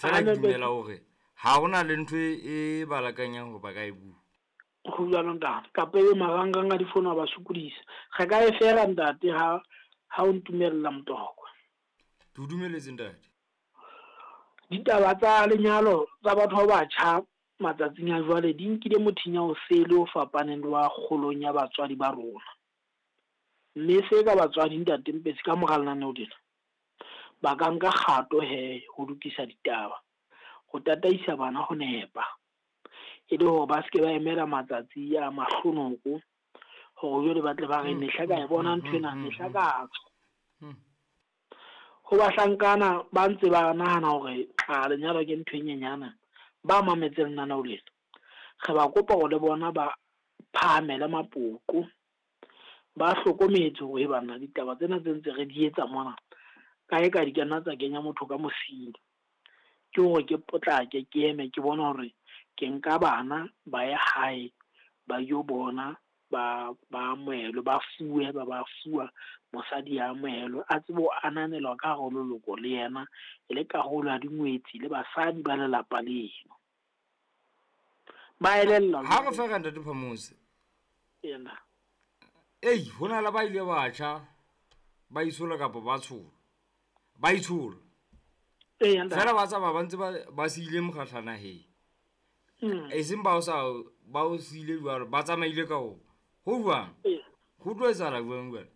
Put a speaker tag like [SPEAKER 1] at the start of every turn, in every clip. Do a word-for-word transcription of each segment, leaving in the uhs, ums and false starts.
[SPEAKER 1] Fela ke dumela hore ha hona le ntho e ba lakanyang hore ba ka e bua.
[SPEAKER 2] Ho jwalo ntate, kapa ebe marangrang a difono a ba sokodisa. Re ka e fela ntate ha ha o ntumella Motokwa.
[SPEAKER 1] Ke o dumeletse ntate.
[SPEAKER 2] Ditaba tsa lenyalo tsa batho ba batjha matsatsing a jwale di nkile mothinya o sele o fapaneng le wa kgolong ya batswadi ba rona. Mme se ka batswadi ntate Mpetsi ka mora lenaneo lena, ba ka nka kgato he ho lokisa ditaba, ho tataisa bana ho nepa. E le hore ba seke ba emela matsatsi a mahlonoko hore jwale ba tle ba re mehla ka e bona nthwena, mehla ka tswa. Ho bahlankana ba ntse ba nahana hore a lenyalo ke ntho e nyenyana, ba mametse lenaneo lena. Re ba kopa hore le bona ba phahamele mapoqo, ba hlokometse hore banna ditaba tsena tse ntse re di etsa mona, kae kae di ka nna tsa kenya motho ka mosing. Ke hore ke potlake ke eme ke bone hore ke nka bana ba ye hae ba yo bona ba ba amohelwe, ba fuwe ba ba fuwa mosadi a amohelwe, a tsebe ho ananelwa ka hare ho leloko le yena e le karolo ya dingwetsi le basadi ba lelapa leno. Ba elellwa
[SPEAKER 1] Ha re fera ntate Phamotse.
[SPEAKER 2] Ena.
[SPEAKER 1] Ei, hona le ba ile batjha ba itshola kapa ba tshola. Ba itshola.
[SPEAKER 2] Eya ntate.
[SPEAKER 1] Fela ba tsamaya ba ntse ba ba siile mokgahla naheng.
[SPEAKER 2] Mm.
[SPEAKER 1] E seng ba o sa ba o siile jwalo, ba tsamaile ka o. Ho jwang?
[SPEAKER 2] Ee.
[SPEAKER 1] Ho tlo etsahala jwang jwale?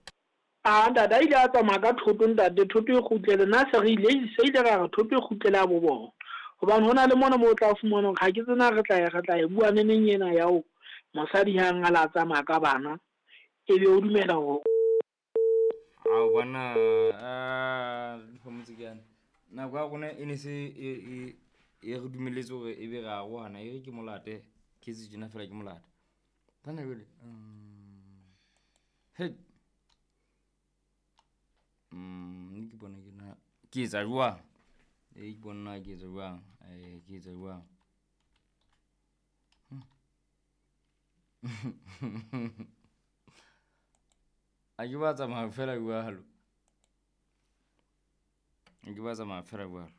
[SPEAKER 2] Ah, ntate a ile a tsamaya ka thoto ntate, thoto e kgutlele. Nna se re ile, se ile ra re thoto e kgutlele a bo bona. Hobane hona le mona moo o tla fumana hore ha ke tsena re tla re tla e bua neneng ena ya ho mosadi ha ngala a tsamaya ka bana, ebe o dumela hore
[SPEAKER 1] Ao bona, ah, Phamotse ke yana. Nako ya rona e ne se e e e re dumelletse hore ebe re arohana, e re ke molate, ke etse tjena fela ke molate. Bana jwale, mm, he. Mm, ke bona ke na ke etsa jwang? E ke bona ke etsa jwang? Eh, ke etsa jwang? Hmm. A ke ba tsamaya fela jwalo. A ke ba tsamaya fela jwalo.